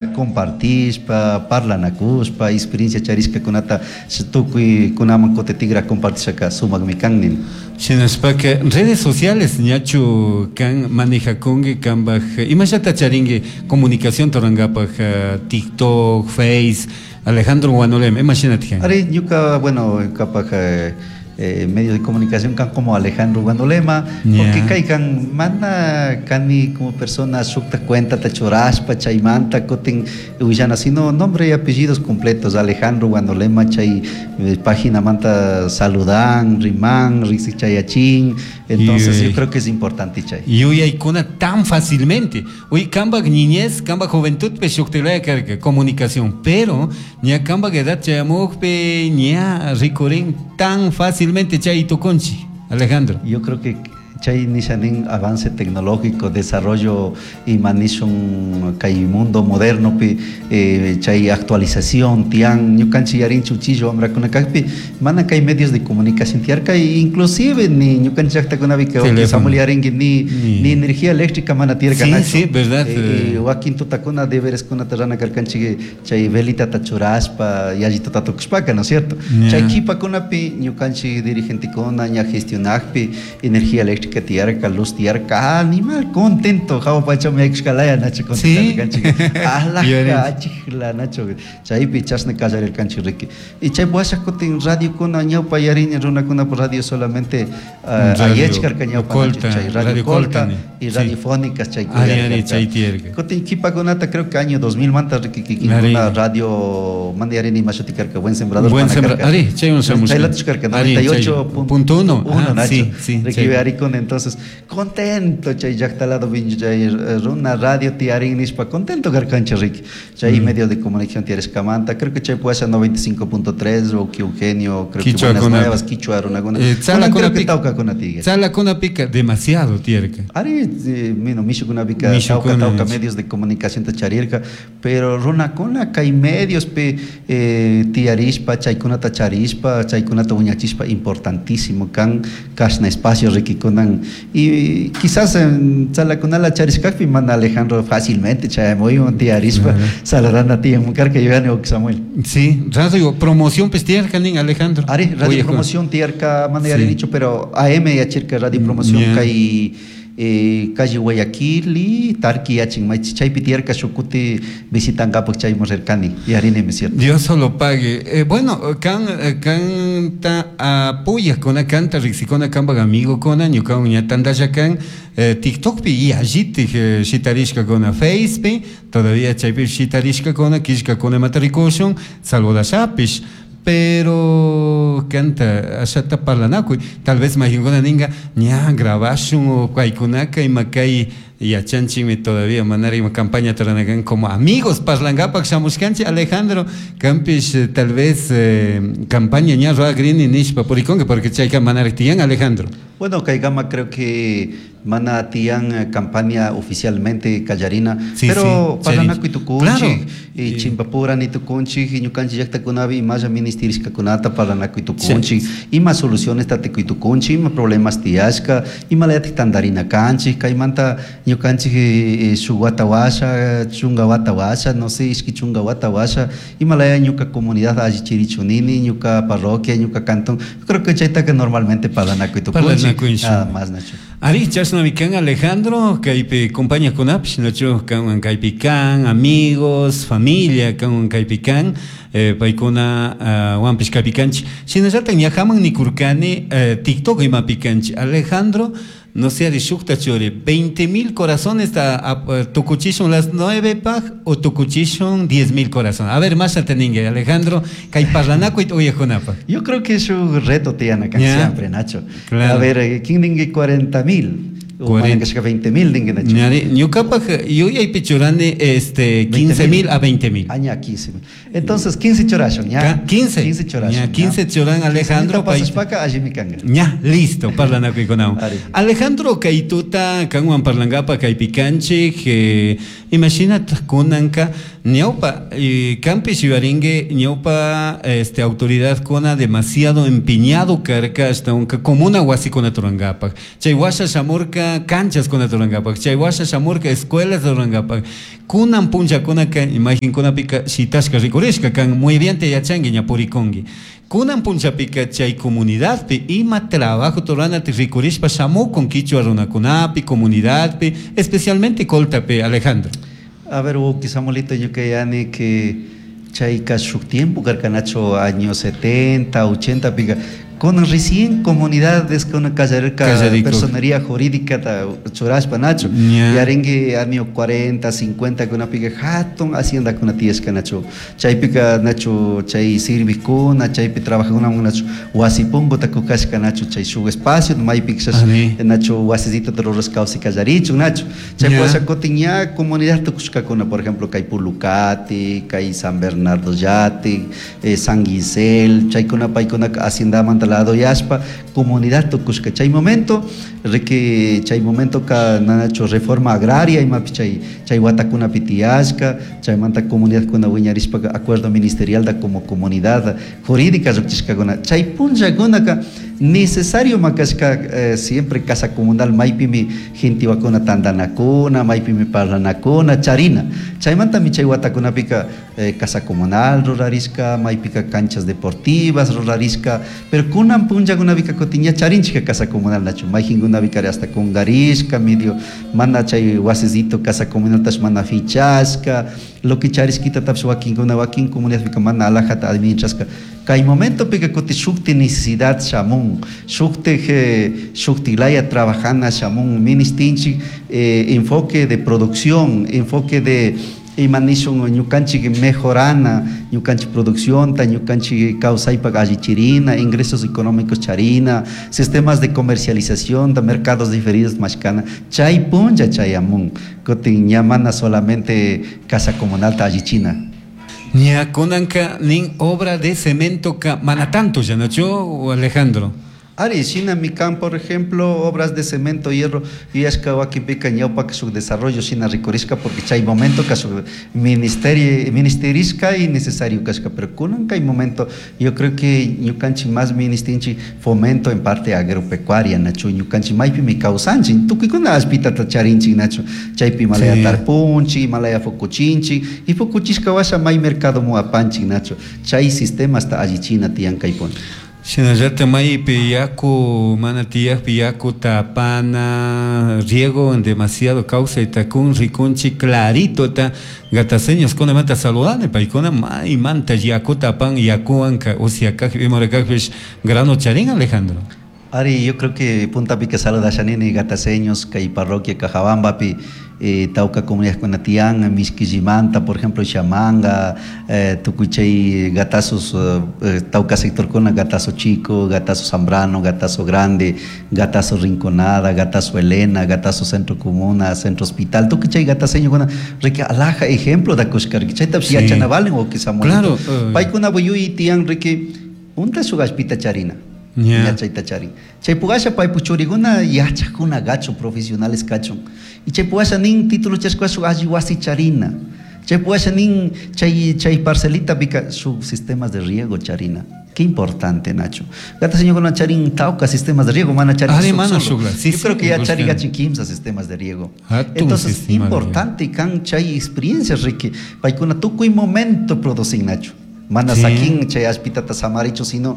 Compartishpa, parlanacushpa, experiencia charishcacunata tucuicunaman cutitigra compartishaka sumajmi kan nini. Shinashpaka redes sociales ñachu kan manejakunki kambaj imallata charinki comunicación rurankapak, TikTok, Face, Alejandro Guanolema, ima shinatik? Ari, ñuka, bueno, ñukapaj medios de comunicación kan como Alejandro Guanolema, porque kay kan mana kani como persona shukta cuentata churashpa chaymanta kutin willana, sino nombre y apellidos completos, Alejandro Guanolema, chay paginamanta saludan, riman, riksichayachin, entonces yo creo que es importante chay. Yuyaykuna tan fácilmente. Uy, kambaj niñez, kambaj juventud pe shuktilaya karka comunicación, pero ña kambaj edad chayamukpi ña rikurin tan fácilmente chay tukunchi, Alejandro. Yo creo que chay nishanin avance tecnológico, desarrollo ima nishun kay mundo moderno pi chay actualización tian ñukanchik yarinchi uchilla wamrakuna kakpi mana kay medios de comunicación tiyarka, inclusive ni ñukanchik llaktakunapi Samuel yarinki ni energía eléctrica mana tiyarka. Sí, sí, verdad. Wakin tutakuna debereskunata rana karkanchik chay velitata churashpa yallituta tukushpaka, ¿no es cierto? Chay kipakunapi ñukanchik dirigentekuna ña gestionakpi energía eléctrica tiyarka, luz tiyarka, animal contento, hawa pachaman yaykushkalaya, Nacho, contento karkanchik. Alhaja achikla, Nacho, chaypi chashna kallarirkanchik riki. Y chay washa kutin radiokuna ñawpa yarini runakunapa radio solamente ayechkarka ñawpa, Nacho, chay radio Colta y radiofónicas chay. Kutin kipakunata creo que año 2000 manta riki kikinkuna radio mana yarini ima shuti karka, Buen Sembrador. Buen Sembrador, ari, chaywan shamushka. Chaylatachu karka, 98.1, Nacho. Riki arikuna, entonces contento chay llakta lado chay runa radio tiyarin nishpa contento karkanchik riki. Chay medio de comunicación tiyarishkamanta, creo que chay puede 95.3 o que Eugenio, creo que Buenas Nuevas, Quichua runakuna. Creo que tawkakuna tiyan. Tzalakunapika demasiado tiyarka. Ari, mino, mishukunapika tawka tawka medios de comunicación ta charirka, pero runakuna kay medios pi tiyarishpa, chaykunata charishpa, chaykunata wiñachishpa importantísimo kan kashna espacio rikikunan. Y quizás tzalakunala charishkakpi mana Alejandro fácilmente chayamuywan tiyarishpa saladana tiyan karka yuyani Samuel. Sí, radio promoción pues tiyarka nin, Alejandro. Ari, radio promoción tiyarka, mana yarinichu, pero AM yachirka radio promoción kay calle Guayaquil y Tarqui yachin chaypi tiyarka shukuti visitankapak chayman rirkani yarinimi, cierto. Dios solo pague. Bueno, kan kanta apoyakuna, kanta riksikuna kanpak amigokuna, ñukawan ña tantalla kan TikTokpi y allitik shitarishkakuna, Facepi todavía chaypi shitarishkakuna, killkakuna imata rikushun, saludashapish, pero kanta ashata parlanakuy, tal vez mayqinkuna ninka ña grabashun o paykunaka ima kay yachanchikmi todavía manara ima campaña ruranakan como amigos parlankapak shamushkanchik. Alejandro, kanpish tal vez campaña ña rurakrini nishpa purikunki, porque chayka manarak tiyan, Alejandro. Bueno, kaykama creo que mana tiyan campaña oficialmente kallarina, pero parlanakuy tukunchik y chimpapurani tukunchik y ñukanchik llaktakunapi imalla ministerishkakunata parlanakuy tukunchik, ima soluciones tikuy tukunchik, ima problemas tiyashka, imalayatik tantarina kanchik, kaymanta ñukanchik shuk wata washa, chunka wata washa, no sé, ishki chunka wata washa, imalaya ñuka comunidad allichirichu nini, ñuka parroquia, ñuka cantón. Creo que chaytaka normalmente parlanakuy tukunchik, nada más, Nacho. Ari, chashnami kan, Alejandro, kaypi compañakunapish, Nacho, kanwan kaypi kan, amigos, familia kanwan kaypi kan, paykuna wanpish kaypi kanchik. Shinallatak ñajaman nikurkani TikTok imapi kanchik. Alejandro, no sé, ari shukta churi, 20.000 corazones tukuchishun las 9 paj o tukuchishun 10.000 corazones. A ver, más ningue, Alejandro, kay parlanakuy uyakunapaj. Yo creo que es un reto tiyana kan siempre, Nacho. A ver, ¿quién ningue 40.000? O 20.000 ningue, Nacho. Ñukapaj yuyaypi churani 15.000 a 20.000. Ah, ña, 15.000. Entonces, 15 churashun, ña. 15. 15 churashun. Ña, 15 churan, Alejandro. Pasashpaka allimi kanga. Ña, listo, parlanakuykunawan. Alejandro, kay tuta kanwan parlankapa kaypi kanchik, Imashinataj kunanka ñawpa kanpish yuyarinki ñawpa este autoridadkuna demasiado empeñado karka ashtawanka comuna wasikunata rurankapak. Chay washa shamurka canchaskunata rurankapak, chay washa shamurka escuelas rurankapak. Kunan punllakunaka imagenkunapika shitashka rikurishka kan muy bien te yachanki ña purikunki. Kunan punllapika chay comunidadpi ima trabajo ruranata rikurishpa shamukun kichwa runakunapi, comunidadpi, especialmente Coltapi, Alejandro. A ver, wawki Samuelito, ñuka yani que chayka shuk tiempo karka nacho años 70, 80 pika kunan recién comunidades kuna kallarirka personería jurídica ta churashpa nacho. Yarinki año 40, 50 kunapika hatun haciendakuna tiyashka nacho. Chaypika nacho chay sirvikuna, chaypi trabajakuna nacho wasi punguta kukashka nacho chay shuk espacio maypi nacho wasisitota rurashka kawsay kallarichun nacho. Chay washa kutin ña comunidad tukushkakuna, por ejemplo, kay Pulucati, kay San Bernardo Yati, San Gisel, chaykuna paykunaka haciendamanta lado yashpa comunidad tukushka. Chay momento, riki chay momento ka nacho reforma agraria imapi chay chay watakunapi tiyashka, chaymanta comunidadkuna wiñarishpa acuerdo ministerial da como comunidad jurídica llukchishkakuna. Chay punllakunaka necesario makashka siempre casa comunal maypimi gentiwakuna tandanakuna, maypimi parlanakuna, charina. Chaymantami chay watakunapika casa comunal rurarishka, maypika canchas deportivas rurarishka, pero kunan punllakunapika kutin ña charinchika casa comunal nachu, mayjinkunapika hasta kungarishka, medio mana chay wasisito casa comunal tash mana fichashka, lo que charishkitatapish wakinkuna wakin comunidadpika mana alajata administrashka. Kay momentopika kutin shukti necesidad shamun, shukti shuktilaya trabajana shamun, ministinchik enfoque de producción, enfoque de ima nishun ñukanchik mejorana, ñukanchik produccionta, ñukanchik kawsaypak allichirina, ingresos económicos charina, sistemas de comercialización, de mercados diferidos mashkana, chay punlla chayamun, kutin ña mana solamente casa comunal ta allichina. Ña kunanka nin obra de cemento ka mana tanto ya nacho Alejandro. Ari, shinami kan, por ejemplo, obras de cemento, hierro, yuyashka wakinpika ñawpaka shuk desarrollo shina rikurishka porque chay momento ka shuk ministerio, ministerishka y necesario kashka, pero kunan kay momento, yo creo que ñukanchik más ministinchik fomento en parte agropecuaria, nachu, ñukanchik maypimi kawsanchik, tukuykuna allpitata charinchik, nachu, chaypi malaya tarpunchik, malaya fukuchinchik, y fukuchishka washa may mercado mu apanchik, nachu, chay sistemasta allichina tiyan kay punto. Shinallata maypi yaku mana tiyakpi yaku tapana riego en demasiado kawsayta kun rikunchik claritota gataseños kunamanta saludane paykuna maymanta yakuta apan yakuwanka usyakakpi imarakakpish grano charin Alejandro. Ari, yo creo que puntapika saludashanini gataseños kay parroquia Cajabambapi tawka comunidad tiyan Mishquillimanta, por ejemplo, Chamanga, tukuy chay gatazos, tawka sectorkuna, gatazo chico, gatazo Zambrano, gatazo grande, gatazo Rinconada, gatazo Elena, gatazo Centro Comuna, Centro Hospital, tukuy chay gataseñokuna, riki alaja ejemplo da kushka, riki chaytapish yachana valen o Samuelito. Claro. Paykuna buyuy tiyan riki unta shuk allpita charina. Yeah. Chayta charin. Chay pugasha paypu churikuna yachakuna gachun, profesionales kachun. Y chay pugasha nin título chashkua shuk alli wasi charina. Chay pugasha nin chay, chay parcelita pika shuk sistemas de riego charina. Qué importante, Nacho. Gata señor charin tauca sistemas de riego, mana charin Ari, mana solo. shugla. Sí, Yo creo sí, que ya buscan. charin gachin quimsa sistemas de riego. Hatun Entonces, sistema de riego. importante kan chay experiencias, Ricky. Paykuna tukuy momento producen, Nacho. Mana Sí. sakin chay allpitata samarichu, sino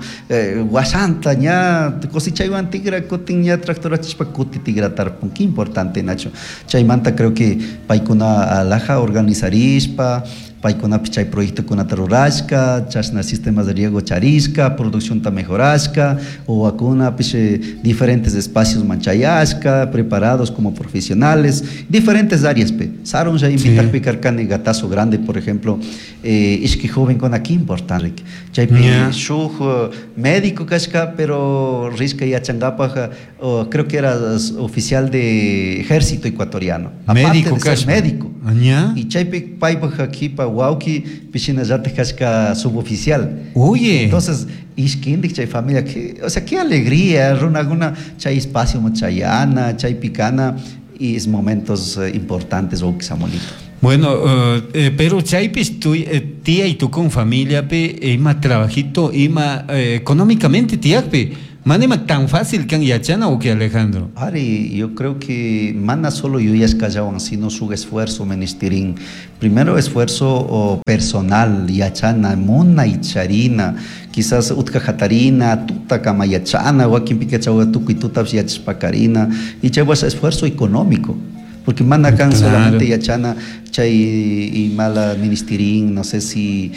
washanta ña cosechaywan tigra kutin ña tractorachishpa kuti tigra tarpun. Qué importante, Nacho. Chaymanta creo que paykuna alaja organizarishpa, paykunapi chay proyectokunata rurashka, chashna sistemas de riego charishka, produccionta mejorashka, wawakunapish diferentes espacios manchayashka, preparados como profesionales, diferentes áreas pe. Sarun ya invitarpi karkani gatazo grande, por ejemplo, ishki joven con aquí importante. Chaypi shuk médico kashka, pero rishka yachangapaj, creo que era oficial de ejército ecuatoriano. Aparte Médico de ser kashka. médico. Aña. Y chaypi paypaj akipa wawki pishina llataj kashka suboficial. Oye. Entonces, ishkindik chay familia, que, o sea, qué alegría, runakuna chay espacio machayana, chay picana. Y es momentos importantes wawki Samuelito. Bueno, pero chaypish tiyay tukun familiapi ima trabajito, ima económicamente tiyakpi, mana ima tan fácil kan yachana wawki Alejandro. Ari, yo creo que mana solo yuyashkallawan, sino su esfuerzo menestirin. Primero esfuerzo personal, yachana, munay charina, quizás utka hatarina, tuta kama yachana, wakinpika chawa tukuy tutapish yachashpakarina, y chaywas esfuerzo económico. Porque mana kan solamente yachana chay imala ministerin, no sé si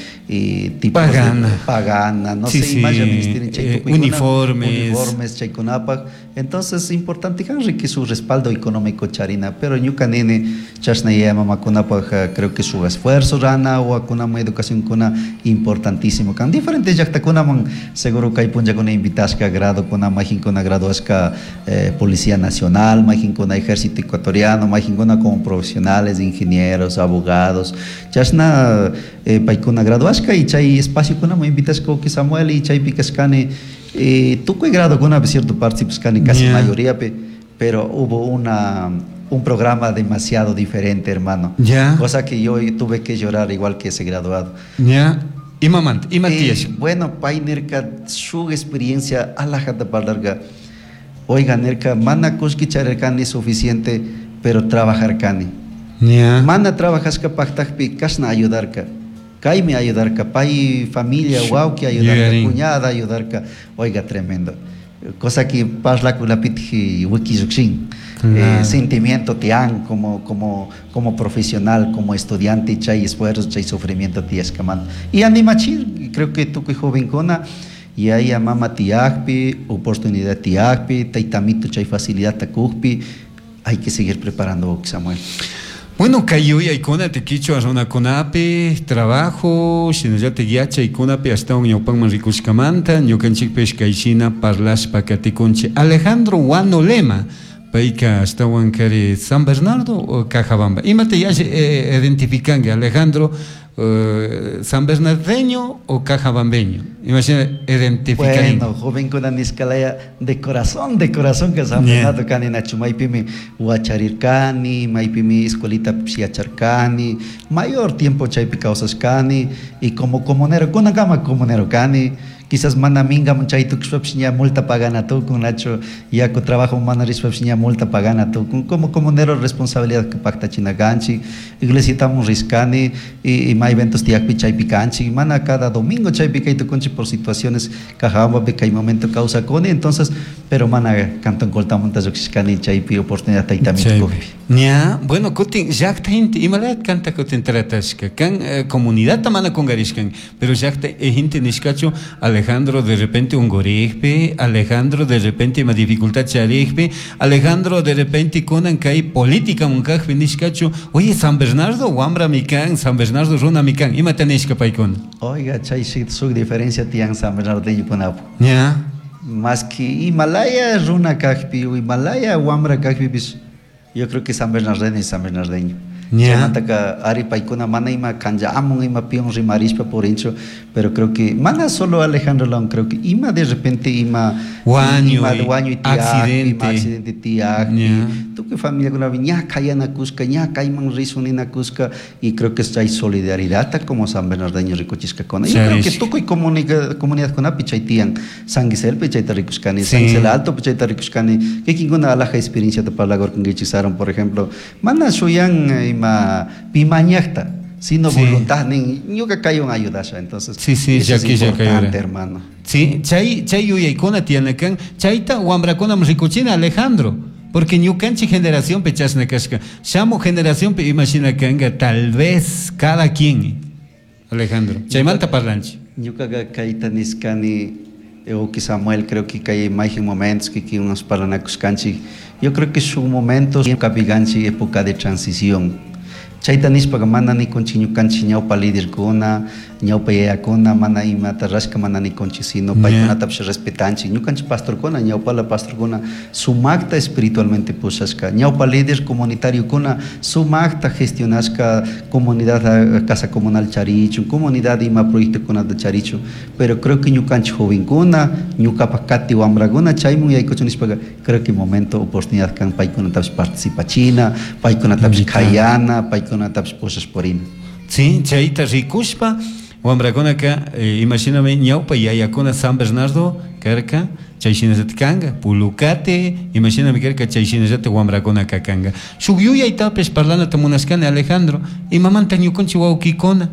tipos de Pagana. pagana, no Sí, sé, sí, imaya ministerin chay tukuykuna, uniformes. uniformes chaykunapaj. Entonces, importante kan que su respaldo económico charina, pero ñuka nene chashna yaya mamakunapaj, creo que su esfuerzo rana o akuna educación kuna importantísimo. Kan diferentes llaqtakunaman seguro kay punllakuna invitashka grado kuna majinkuna graduashka Policía Nacional, majinkuna Ejército Ecuatoriano, majinkuna como profesionales, ingenieros, abogados. Chashna paykuna graduashka y chay espacio kuna invitashka que Samuel y chay pikashkani tukuy grado kuna cierto participashkani casi mayoría pe, pero hubo un programa demasiado diferente, hermano. Cosa que yo tuve que llorar igual que ese graduado. Imamanta, ima tiyasha. Bueno, pay nirka su experiencia alajata parlarga. Oiga, nirka, mana kushki charirkani suficiente, pero trabajar kani. Mana trabajashka paktakpi kashna ayudarka. Kaymi ayudarka, pay familia, wawki ayudarka, Yuyarin. cuñada ayudarka. Oiga, tremendo. Cosa que parlakunapitji wikillukshin. Sentimiento tian como profesional, como estudiante, chay esfuerzo, chay sufrimiento tiascaman. Y animachir, creo que tukuy jovencuna, y ahí a mama tiakpi, oportunidad tiakpi, taitamito chay facilidad takukpi, hay que seguir preparando, Samuel. Bueno, kay yuyaykuna te quichua runakunapi, trabajo, shinallata yachaykunapi ashtawan ñawpanman rikushkamanta, ñukanchikpish kayshina parlashpa katikunchik. Alejandro Huanolema, payka ashtawan kari San Bernardo o Cajabamba. Imata yalli identificanki, Alejandro, San Bernardeño o Cajabambeño? Imagina, identificarín. Bueno, joven con aniscalaya de corazón, de corazón que San Bernardo cani nachu, maypimi huacharircani, maypimi escuelita psiacharcani, mayor tiempo chaypi causascani, y como comunero, con gama comunero cani, quizás mana minga chay tukushpapish ña multa pagana tukun, nacho, yaku trabajo mana rishpapish ña multa pagana tukun, como comunero responsabilidad que pacta chinaganchi, iglesitamos riscani, y may eventos tiakpi chaypi kanchi, mana cada domingo chaypi kay tukunchi por situaciones Cajabamba que hay momento causa coni, entonces, pero mana cantón coltamonta lluqshishkani chaypi oportunidad taytami Chaypi. tukukpi. Ña, bueno, kutin llaqta gente, imalayat kanta kutin tratashka, kan comunidad mana kungarishkan, pero llaqta gente nishkachu, Alejandro de repente ungurijpi, Alejandro de repente ima dificultad charijpi, Alejandro de repente kunan kay política munkajpi nishkachu, oye, San Bernardo wambra mikan, San Bernardo runa mikan, imata nishka paykuna? Oiga, chay suk diferencia tiyan San Bernardo kunapu. Ña. Más que Himalaya runa kajpi, o Himalaya wambra kajpi, pues, yo creo que San Bernardeño es San Bernardeño. Chaymantaka ari paykuna mana ima kanja amun ima pion rimarishpa por hincho, pero creo que mana solo Alejandro León, creo que ima de repente ima Wañuy, ima wañuy tiak, accidente. ima accidente tiak, tu que familia kuna ña kayana kuska, ña kayman risunina kuska, y creo que hay solidaridad como San Bernardeño rikuchishka kona. Yo creo que Charish. tukuy comunidad kunapi chay tiyan, San Gisel chayta rikushkani, San Gisel Alto chayta rikushkani, kikinkuna alaja experiencia te parlagor con gichisaron, por ejemplo, mana shuyan ima pimañakta, sino voluntad, nin, ñuka kayun ayudasha, entonces, Sí, sí, eso ya es que ya importante, cayó. hermano. Sí, chay, chay yuyaykuna tianakan, chayta wambrakunam rikuchina Alejandro, porque ñukanchik generación pe chashna kashka, shamu generación pe imagina kanga, tal vez cada quien, Alejandro, chaymanta parlanchik. Ñukaqa kayta nishkani, Oki Samuel, creo que kay mayqin momentos que que unos parlanakuskanchik, yo creo que su momento kapiganchik época de transición. Chayta nishpaqa mana nikunchik ñukanchik ñawpa liderkuna, Ñawpa yayakuna mana imata rashka mana nikunchik, sino paykunatapish respetanchik. Ñukanchik pastorkuna, ñawpala pastorkuna sumakta espiritualmente pushashka, ñawpa líder comunitariokuna sumakta gestionashka comunidad casa comunal charichun, comunidad ima proyectokunata charichun. Pero creo que ñukanchik jovenkuna, ñukapak kati wambrakuna chaymun yaykuchun nishpaka, creo que momento oportunidad kan paykunatapish participachina, paykunatapish kayana, paykunatapish pushash purina. Sí, chayta rikushpa wambrakunaka imashinami ñawpa yayakuna San Bernardo karka, chay shinallatik kanka, Pulucate imashinami karka, chay shinallatik wambrakunaka kanka. Shuk yuyaytapish parlanata munashkani, Alejandro, imamanta ñukanchik wawkikuna.